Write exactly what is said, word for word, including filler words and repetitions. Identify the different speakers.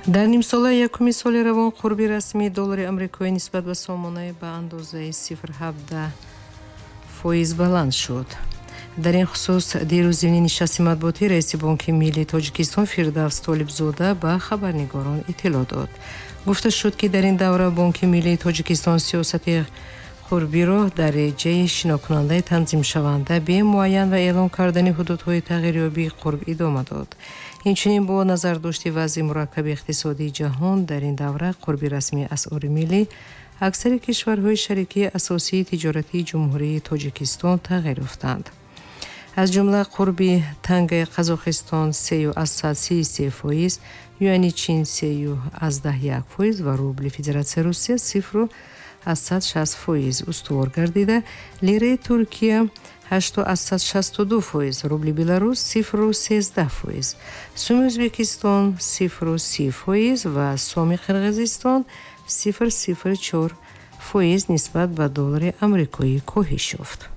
Speaker 1: Дар нимсолаи якуми соли равон қурби расмии доллари амрикоӣ нисбат ба сомонаи ба андозаи сифр ҳабдаҳ фоиз баланд шуд. Дар ин хусус дирӯз зимни нишасти матбуотӣ раиси Бонки миллии Тоҷикистон Фирдавс Толибзода ба хабарнигорон иттилоъ дод. Гуфта шуд, ки дар ин давра Бонки миллии Тоҷикистон сиёсати қурбиро дар реҷаи шинокунандаи танзимшаванда бемуайян ва эълон кардани ҳудудҳои тағйирёбии қурб идома дод. Инчунин бо назардошти вазъи мураккаби иқтисодии ҷаҳон дар ин давра қурби расмии асъори миллӣ аксари кишварҳои шарикии асосии тиҷоратии Ҷумҳурии Тоҷикистон тағйир ёфтанд. Аз ҷумла қурби тангаи Қазоқистон сею аз сад сию се фоиз, юани Чин сею аз даҳ як фоиз ва рубли Федератсияи Русия сифру аз сад шаст фоиз устувор гардида, лираи Туркия ҳашту аз сад шасту ду фоиз, рубли Беларус сифру сездаҳ фоиз, суми Ӯзбекистон сифру си фоиз ва соми Қирғизистон сифр сифр чор фоиз нисбат ба доллари амрикоӣ коҳиш ёфт.